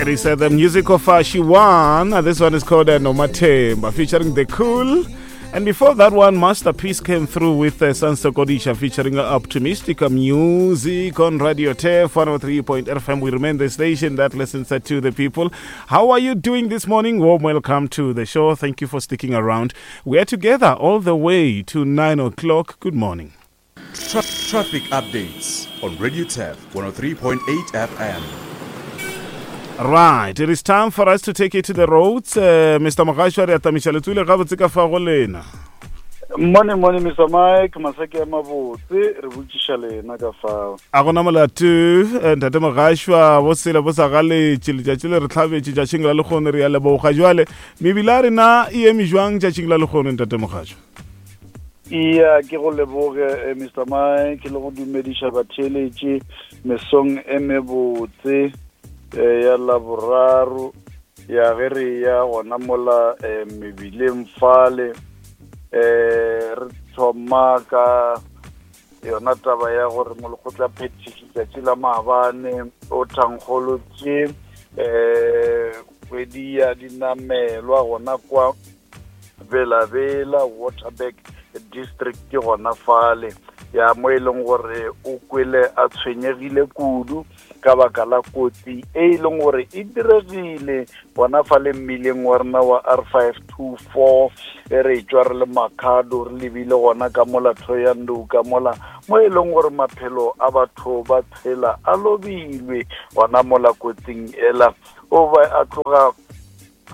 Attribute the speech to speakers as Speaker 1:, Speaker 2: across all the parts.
Speaker 1: It is the music of Shiwan. This one is called Nomatemba, featuring The Cool. And before that one, Masterpiece came through with Sansa Kodisha featuring Optimistic Music on Radio Turf 103.8 FM. We remain the station that listens to the people. How are you doing this morning? Warm welcome to the show. Thank you for sticking around. We are together all the way to 9 o'clock. Good morning.
Speaker 2: Traffic updates on Radio Turf 103.8 FM.
Speaker 1: Right, it is time for us to take it to the roads. Mr. Mogashwa, re atamiša letswele gabotse ka fa go lena.
Speaker 3: Morning, morning, Mr. Mike. Masake a mabotse, re botšiša lena ka fao.
Speaker 1: A gona molato, ntate Mogashwa, bo sele bo sa galetše, letšatši le re hlabetše tšatšing la lekgono, re ya leboga. Jwale, mebila ya rena e eme jwang tšatšing la lekgono, ntate Mogashwa?
Speaker 3: Iya, ke go leboge, Mr. Mike, le go dumediša batheeletši mesong e mebotse ya Laboraro, ya ge re ya gona mola mebileng fale. Re thoma ka yona taba ya gore molekgotla phethiši tšatši la maabane o thankgolotše kgwedi ya dinamelwa gona kwa Bela-Bela, Waterberg District gona fale, ya mo e leng gore o kwele a tshwenyegile kudu ka baka la kotsi e e leng gore e diregile gona fale mmileng wa rena wa R524, e re tšwa re le Makhado re lebile gona ka mola Thohoyandou ka mola mo e leng gore maphelo a batho ba tshela a lobilwe gona mola kotsing ela. O ba a tloga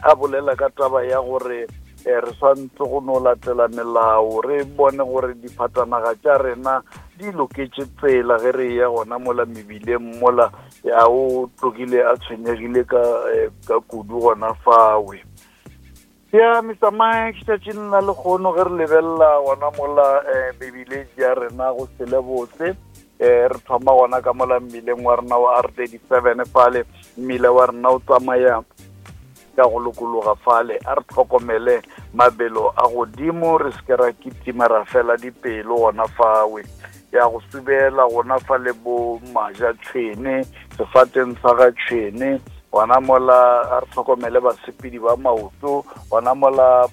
Speaker 3: a bolela ka taba ya gore re swantse go no latela melao, re bone gore diphatanaga tša rena di loketše tsela ge re ya gona mola mebileng mola. Ya o tlogile a tshwenyegile ka kudu gona fawe. Ya Mr. Mike, tšatšing la lekgono ge re lebelela gona mola mebileng ya rena go sele botse, re thoma gona ka mola mmileng wa rena wa R37 fale, mmila wa rena o tsamaya ka go lokologa fale. A re tlhokomele mabelo a godimo, re se ke ra kitima ra fela dipelo gona fawe. Ya go subela gona fale bo maja tšhwene, sefateng sa ga tšhwene gona mola, a re tlhokomele basepedi ba maoto gona mola,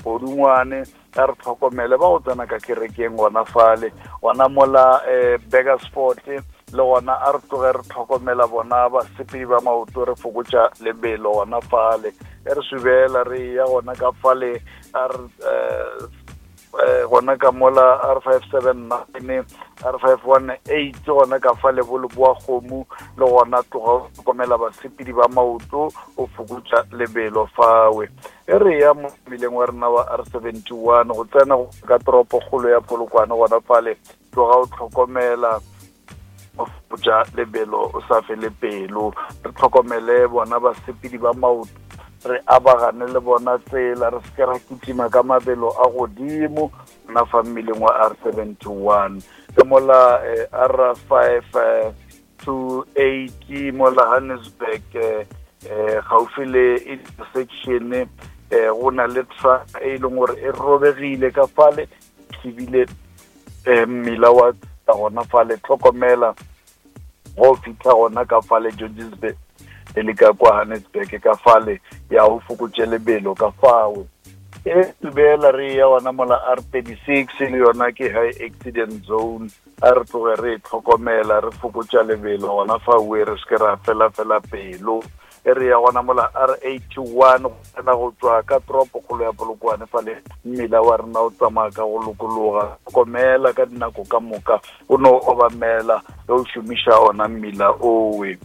Speaker 3: podungwane, a re tlhokomele ba go tsena ka kerekeng gona fale gona mola, Burgersfort le gona a re tloge re tlhokomela bona basepedi ba maoto, re fokotša lebelo gona fale. E re subela re ya gona ka fale, a re gona ka mola R579, R518 gona ka fale bo leboa kgomo, le gona tloga o tlhokomela basepedi ba maoto, o fokotša lebelo fawe. E re ya mo mmileng wa rena wa R71 go tsena ka toropo kgolo ya Polokwane gona fale, tloga o tlhokomela, o fokotša lebelo, o sa fele pelo. Re tlhokomele bona basepedi ba maoto, re abagane le bona tsela, re se ke ra kitima ka mabelo a godimo na fa mmileng wa R71. Ka mola R5 28 mola Johannesburg, gaufi le intersection, go na le truck e leng gore e robegile ka fale, thibile mmila wa gona fale. Tlhokomela go fitlha gona ka fale Georgesburg e le ka kwa Johannesburg ka fale, ya go fokotše lebelo ka fawe. E tubela re ya gona mola R36, le yona ke high accident zone, a re tloge re tlhokomela, re fokotša lebelo gona fa we, re se ke ra fela fela pelo. E re ya gona mola R81 go tsena go tswa ka toropo kgolo ya Polokwane fale, mmila wa rena o tsamaya ka go lokologa. Tlhokomela ka dinako ka moka, o no obamela ge o šomiša ona mmila owe.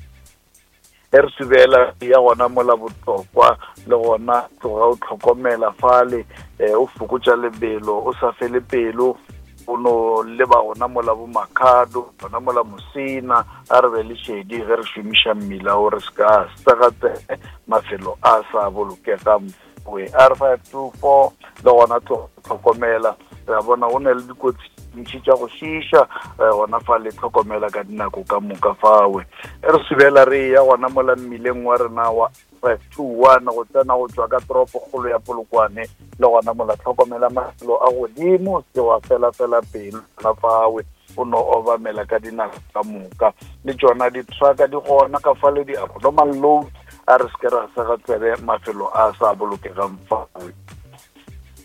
Speaker 3: E re subela ya gona mola Botlokwa, le gona tloga o tlhokomela fale, o fokotša lebelo, o sa fele pelo, o no leba gona mola bo Makhado, gona mola Mosina. A re be le šedi ge re šomiša mmila o, re se ka segatsege mafelo a sa bolokegang. R524 le gona tlhokomela, re a bona go na le dikotsi ntši tša go šiša gona fa le, tlhokomela ka dinako ka moka fawe. E re subela re ya gona mola mmileng wa rena wa 521 go tsena go tswa ka toropo kgolo ya Polokwane, le gona mola tlhokomela mafelo a godimo, se wa fela fela pelo gona fawe, o no obamela ka dinako ka moka. Le tšona di-trucka di gona ka fale, di-abnormal loads. A re se ke ra sega tsebe mafelo a sa bolokegang fawe.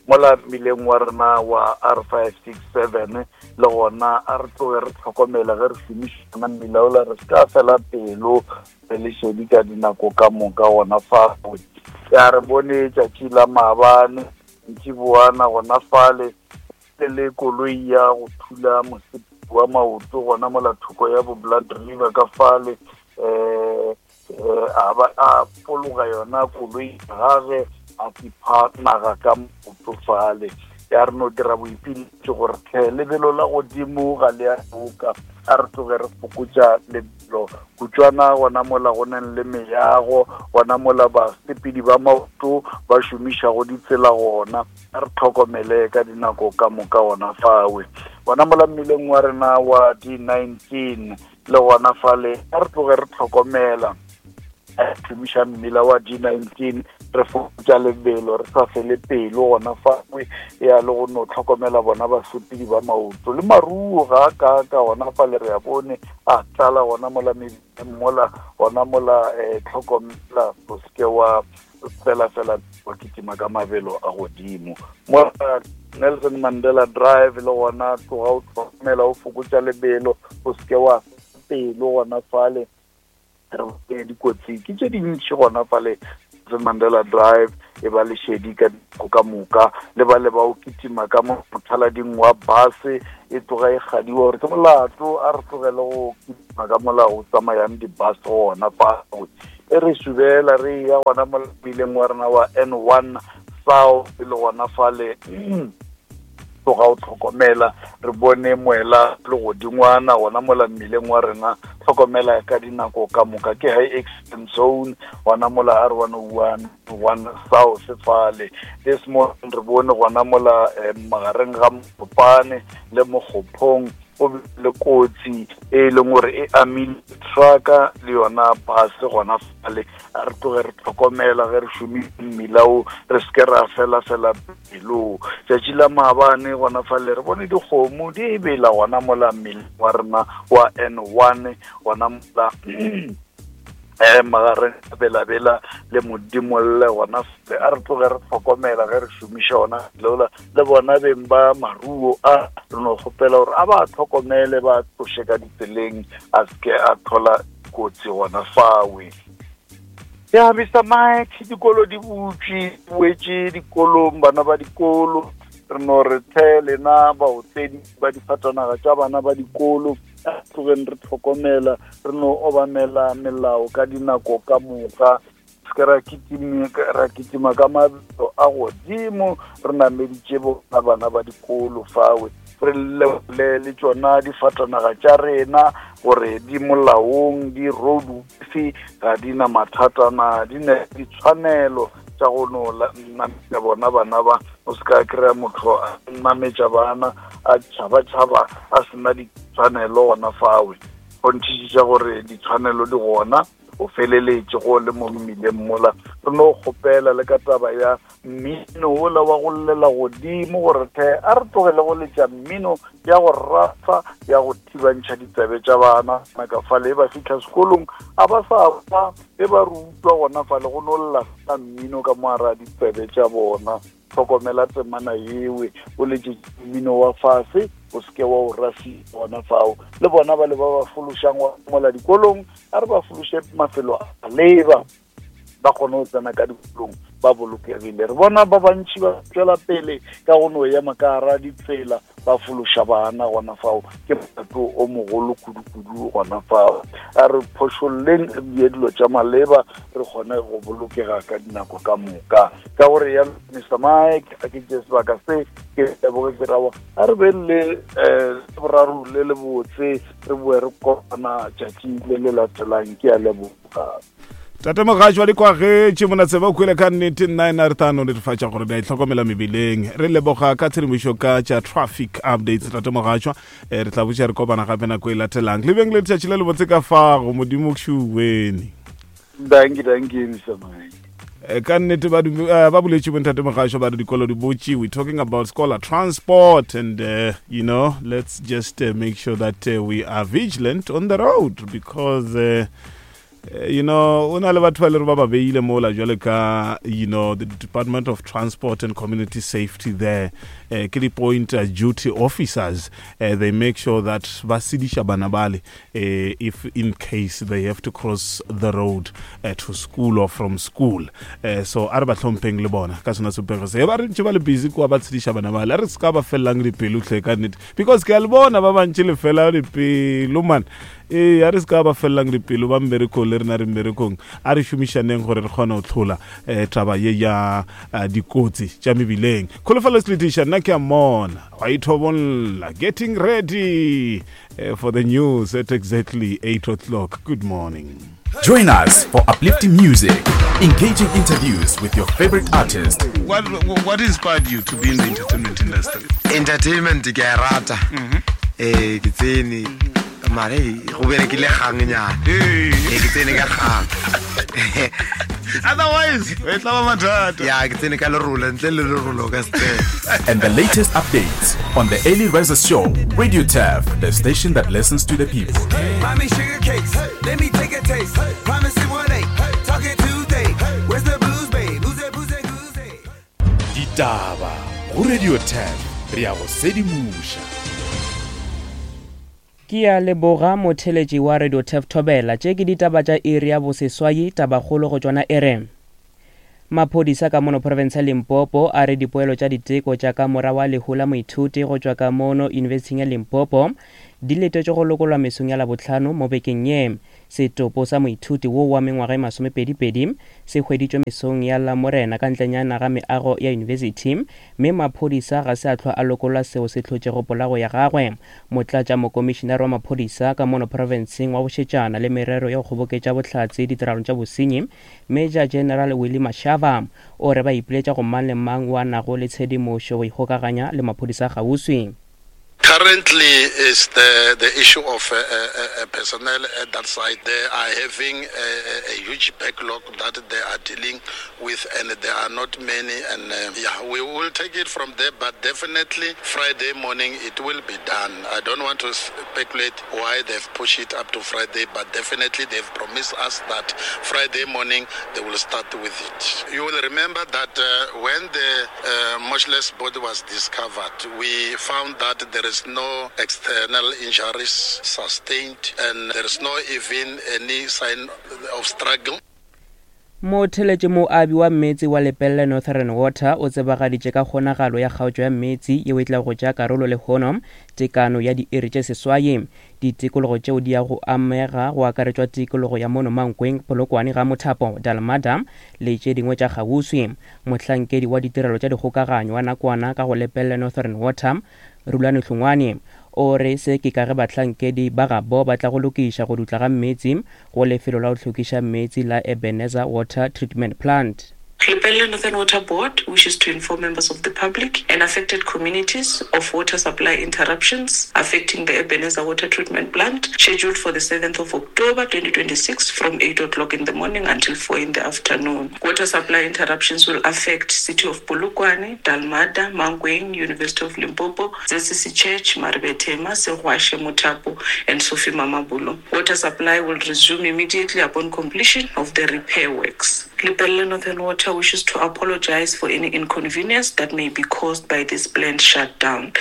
Speaker 3: Mola mmileng wa rena wa R567 le gona a re tloge re tlhokomele ge re šomišana mmila ola, re se ka fela pelo re le šedi ka dinako ka moka gona fawe. Ya re bone tšatši la maabane ntšiboana gona fale le le koloi ya go thula mosepedi wa maoto gona mola thoko ya bo Blood River ka fale, um a ba a pologa yona koloi gage a tipha naga ka maoto fale. Ya re no dira boipiletšo gore tlhe lebelo la godimo ga le a loka, a re tloge re fokotša lebelo kutšwana gona mola go nang le meago, gona mola basepedi ba maoto ba šomišago ditsela gona, a re tlhokomele ka dinako ka moka gona fawe. Gona mola mmileng wa rena wa D19 le gona fale a re tloge re tlhokomela, a šomiša mmila wa D19 re fokotša lebelo, re sa fele pelo gona fawe, ya le go no tlhokomela bona basepedi ba maoto le maruo ga a ka ka gona fale re a bone a tlala gona mola mebileng mola gona mola, tlhokomela o seke wa fela fela wa kitima ka mabelo a godimo. Mola Nelson Mandela Drive le gona tloga o tlhokomela o fokotša lebelo, o seke wa pelo gona fale, re bone dikotsi ke tše dintši gona fale Nelson Mandela Drive, e ba lešedi ka dinako ka moka, le ba le ba o kitima ka mothalading wa base e tloga e gadiwa gore ke molato, a re tlogele go kitima ka mola o tsamayang di-bus gona fao. E re subela re ya gona mo mmileng wa rena wa N1 South le gona fale tloga o tlhokomela, re bone moela le godingwana gona mola mmileng wa rena, tlhokomela ka dinako ka moka, ke high accident zone gona mola R101 1 South fale. This morning re bone gona mola magareng ga Mopane le Mokgophong go bile le kotsi e leng gore e amile trucka le yona bus gona fale. A re tloge re tlhokomela ge re šomiša mmila o, re seke ra fela fela pelo. Tšatši la maabane gona fale re bone dikgomo di bela gona mola mmileng wa rena wa N1 gona mola magareng a Belabela le Modimolle gona fale. A re tloge re tlhokomela ge re šomiša ona leola, le bona beng ba maruo a re no kgopela gore a ba tlhokomele, ba tloše ka ditseleng, a seke a tlhola kotsi gona fawe. Ya Mister Mike, dikolo di butšwe, di boetše dikolong bana ba dikolo, re no re tlhe lena baotledi ba difatanaga tša bana ba dikolo, a tlogeng re tlhokomela, re no obamela melao ka dinako ka moka, se ra kitima ka mabelo a godimo, re nameditše bona bana ba dikolo fawe, re lebole le tšona difatanaga tša rena gore di molaong, di roadworthy, ga di na mathata na, di ne ditshwanelo tša go no nametša bona bana ba. O se ka kry-a motho a nametša bana a tšhaba-tšhaba a sena ditshwanelo gona fawe. Kgonthišiša gore ditshwanelo di gona, o feleletše go le mo mmileng mola. Re no kgopela le ka taba ya mmino ola wa go llela godimo gore tlhe a re tlogele go letša mmino ya go rafa ya go thibantšha ditsebe tša bana naka fale e ba fitlha sekolong a ba sa kwa e ba rutwa gona fale go no lla fela mmino ka moara ditsebe tša bona. Tlhokomela temana yewe, o letše mmino wa fase, o seke wa o rafia gona fao. Le bona ba le ba ba fološang mola dikolong, a re ba fološe mafelo a leba, ba kgone go tsena ka dikolong ba bolokegile. Re bona ba bantši ba tšwela pele ka go no ema ka gara ditsela ba fološa bana gona fao, ke molato o mogolo kudu-kudu gona fao. A re phošolleng, re die dilo tša maleba, re kgone go bolokega ka dinako ka moka. Ka gore ya Mister Mike, a ke tše sebaka se ke leboge ke rawa, a re be le boraro le le botse, re boe re kopana tšatši le le latelang. Ke a leboga.
Speaker 1: Tate Mogatši wa dikwagetše monatseba o kwele ka nnete, nna ena re tla no netefatša gore di a itlhokomela mebileng. Re leboga ka tshedimošo ka tša traffic updates, Tate Mogatšwa. Re tla botša re kopana gape nako e latelang. Le beng le letšatši le lebotse ka fago, Modimo kšuweni.
Speaker 3: Danki, danki, Mister Mike.
Speaker 1: Ka nnete ba boletše bontate Mogatšwa ba re dikolo di botše. We talking about scholar transport and let's just make sure that we are vigilant on the road because Eh, you know o na le batho ba le re ba ba beile mola jwale ka you know the department of transport and community safety there eh, ke di-point uh, duty officers uh, they make sure that ba sediša bana bale uh, if in case they have to cross the road uh, to school or from school uh, so a re ba hlompheng le bona ka sona sepego se ba re ntše ba le busy kua ba tshediša bana bale a re se ka ba felelang dipelo tlhe ka nnete because ke a le bona ba bantši le fela dipelo man Ee, a re se ka ba felelang dipelo ba mmerekong le rena re mmerekong. A re šomišaneng gore re kgone go tlhola um taba ye ya eh, dikotsi tša mebileng. Kholofelo Seletiša, nna ke a mmona wa ithobolla getting ready eh, for the news at exactly 8 o'clock. Good morning.
Speaker 2: Join us for uplifting music, engaging interviews with your favorite artist.
Speaker 1: What, what inspired you to be in the entertainment industry?
Speaker 4: Entertainment ke a e rata. Eh ke tsene mare go berekile gang nyana. Eh ke tsene ka gang.
Speaker 1: Otherwise, e tla ba mathata.
Speaker 4: Ya ke tsene ka lerolo ntle le lerolo ka se tsene.
Speaker 2: And the latest updates on the Early Riser Show, Radio Turf, the station that listens to the people.
Speaker 5: Mommy sugar cakes, let me take a taste. Promise it one eight, talking Tuesday. Where's the blues, babe? Who's that, booze, goose,
Speaker 2: Ditaba go Radio Turf, re ya go sedimoša.
Speaker 6: Ke a leboga motheletši wa Radio Turf Thobela. Tše ke ditaba tša iri ya boseswai, tabakgolo go tšona e re. Maphodisa ka mono profense ya Limpopo a re dipoelo tša diteko tša ka mora wa lehu la moithuti go tšwa ka mono Yunibesithing ya Limpopo di letetšwe go lokolwa mesong ya Labohlano mo bekeng ye. Setopo sa moithuti wo wa mengwaga e masomepedipedi se hweditšwe mesong ya Lamorena ka ntlenyana ga meago ya yunibesithi mme maphodisa ga se a hlwa a lokolla seo se hlotšego polago ya gagwe. Motlatšamokomišinare wa maphodisa ka mono profenseng wa bošetšana le merero ya go kgoboketša bohlatse ditiragalong tša bosenyi, Major General Willie Mashaba, o re ba ipiletša go mang le mang wo a nago le tshedimošo go ikgokaganya le maphodisa a kgauswi.
Speaker 7: Currently is the, the issue of uh, uh, uh, personnel at that site. They are having a, a, a huge backlog that they are dealing with, and there are not many. And uh, yeah, we will take it from there, but definitely Friday morning it will be done. I don't want to speculate why they've pushed it up to Friday, but definitely they've promised us that Friday morning they will start with it. You will remember that uh, when the uh, motionless body was discovered, we found that there is no external injuries sustained and there is no even any sign of struggle.
Speaker 6: Motheletši moabi wa meetse wa Lepelle Northern Water o tsebagaditše ka kgonagalo ya kgaotšo ya meetse yeo e tlago go tšea karolo lehono tekano ya diiri tše seswai. Ditikologo tšeo di ya go amega go akaretšwa tikologo ya mono Mankweng, Polokwane, Ga Mothapo, Dalmada le tše dingwe tša kgauswi. Mohlankedi wa ditirelo tša dikgokaganyo wa nakwana ka go Lepelle Northern Water, Rulani Hlongwane, o re se ke ka ge bahlankedi ba gabo ba tla go lokiša go dutla ga meetse go lefelo la go hlwekiša meetse la Ebenezer Water Treatment Plant.
Speaker 8: Lepelle Northern Water Board wishes to inform members of the public and affected communities of water supply interruptions affecting the Ebenezer Water Treatment Plant scheduled for the 7th of October 2026 from 8 o'clock in the morning until 4 in the afternoon. Water supply interruptions will affect City of Polokwane, Dalmada, Mankweng, University of Limpopo, ZCC Church, Maribethema, Segwashe, Mothapo and Sophie Mamabolo. Water supply will resume immediately upon completion of the repair works. Lepelle Northern Water wishes to apologize for any inconvenience that may be caused by this planned shutdown.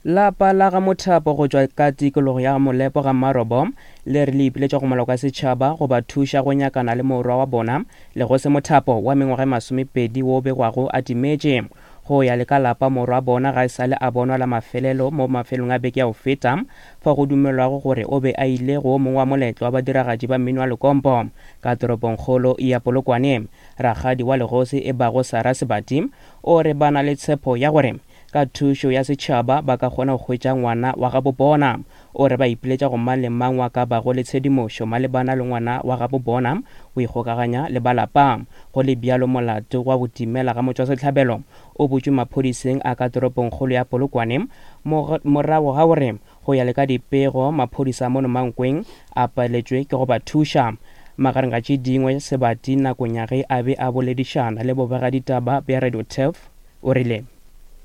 Speaker 6: Lapa la ga Mothapo go tšwa ka tikologo ya Molepo ga Mmarobo le re le ipiletša go maloko a setšhaba go ba thuša go nyakana le morwa wa bona Legose Mothapo wa mengwaga e masomepedi wo o begwago a timetše. Go ya le ka lapa morwa bona ga e sa le a bonwa la mafelelo mo mafelong a beke ya go feta fao go dumelwago gore o be a ile go o mongwe wa moletlo wa badiragatši ba mmino wa lekompo ka toropongkgolo ya Polokwane. Rakgadi wa legosi e bago Sarah Sebati o re ba na le tshepo ya gore ka thušo ya setšhaba ba ka kgona go hwetša ngwana wa gabo bona. O re ba ipiletša go mang le mang wa ka bago le tshedimošo malebana le ngwana wa gabo bona go ikgokaganya le ba lapa. Go le bjalo molato wa go timela ga motšwasehlabelo o butšwe maphodiseng a ka toropongkgolo ya Polokwane morago ga gore go ya le ka dipego maphodisa a mono Mankweng a paletšwe ke go ba thuša. Magareng ga tše dingwe Sebati nakong ya ge a be a boledišana le bobegaditaba bja Radio Turf o rile.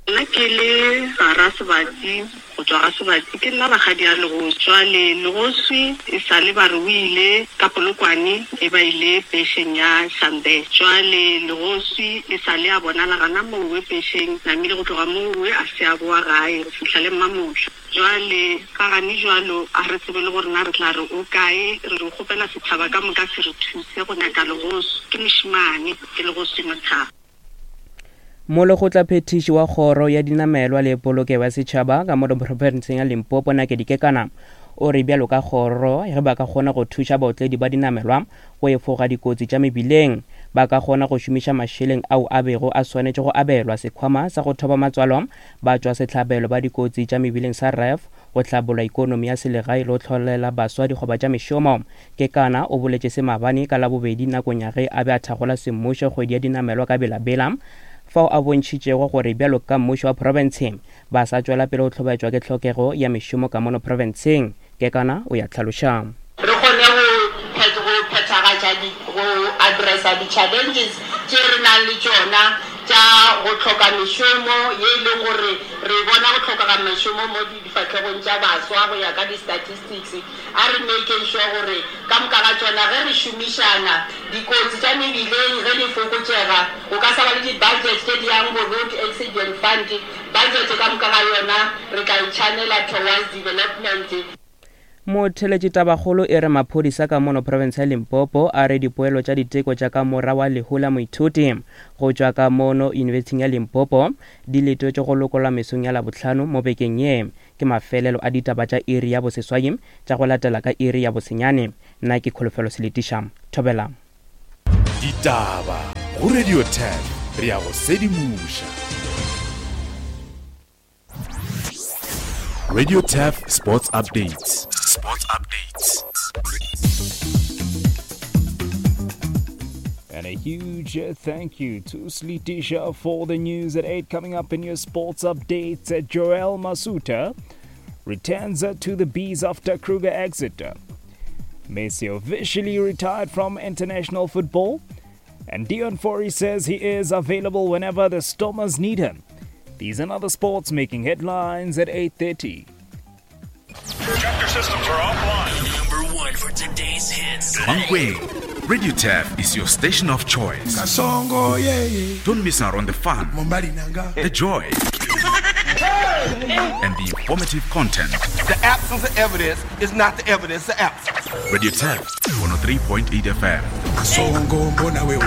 Speaker 8: Nna ke le Sara Sebatsi go tšwa ga Sebatsi, ke nna rakgadi ya Legoswi. Jwale Legoswi e sa le ba re o ile ka Polokwane e ba ile pešeng ya Shambe. Jwale Legoswi e sa le a bonala gana mowe pešeng, namile go tloga mowe a se a boa gae go fihla le mmamohla. Jwale ka gane jwalo a re tsebe le gore na re tla re o kae, re re kgopela setšhaba ka moka se re thuse go nyaka Legoswi. Ke mošemane, ke Legoswi Mothaba.
Speaker 6: Molekgotlaphethiši wa Kgoro ya Dinamelwa le Polokego ya Setšhaba ka mo profenseng ya Limpopo Nakedi Kekana o re bjalo ka kgoro ge ba ka kgona go thuša baotledi ba dinamelwa go efoga dikotsi tša mebileng ba ka kgona go šomiša mašeleng ao a bego a swanetše go abelwa sekhwama sa go thoba matswalo ba tšwa sehlabelo ba dikotsi tša mebileng sa RAF go hlabolla ikonomi ya selegae le go hlolela baswa dikgoba tša mešomo. Kekana o boletše se maabane ka Labobedi nakong ya ge a be a thakgola semmušo kgwedi ya dinamelwa ka Bela-Bela, fao a bontšhitšego gore bjalo ka mmušo wa profense ba sa tšwela pele go hlobaetšwa ke tlhokego ya mešomo ka mono profenseng. Kekana o ya hlaloša.
Speaker 9: Re kgone go go phethagatša di go addressa di challenges tše re nang le tšona tša go hloka mešomo ye e leng gore re bona go hlokega mešomo mo difahlegong tša baswa go ya ka di statistics. A re makeng sure gore ka moka ga tšona ge re šomišana, dikotsi tša mebileng ge di fokotšega, go ka sa ba le di budget tše di yang bo road accident fund, budget ka moka ga yona re tla e channela towards development.
Speaker 6: Motheeletši Tabakgolo e re maphodisa ka mono profense ya Limpopo a re dipoelo tša diteko tša ka mora wa lehu la moithuti go tšwa ka mono Yunibesithing ya Limpopo di letetšwe go lokollwa mesong ya Labohlano mo bekeng ye. Ke mafelelo a ditaba tša iri ya boseswai tša go latela ka iri ya bosenyane. Nna ke Kholofelo Seletiša. Thobela.
Speaker 2: Ditaba go Radio 10 re a go sedimoša. Radio Turf Sports Updates. Sports Updates.
Speaker 10: And a huge thank you to Slitisha for the news at 8. Coming up in your sports updates, Joel Masuta returns to the Bees after Kruger exit. Messi officially retired from international football. And Deon Fourie says he is available whenever the Stormers need him. These and other sports making headlines at 8.30.
Speaker 11: Projector systems are offline. Number one for today's hits.
Speaker 2: Mankweng, Radio Turf is your station of choice.
Speaker 5: Kasongo, yeah, yeah.
Speaker 2: Don't miss out on the fun, the joy, and the informative content.
Speaker 12: The absence of evidence is not the evidence of absence.
Speaker 2: Radio Turf, 103.8 FM.
Speaker 5: Kasongo, mbona wewe.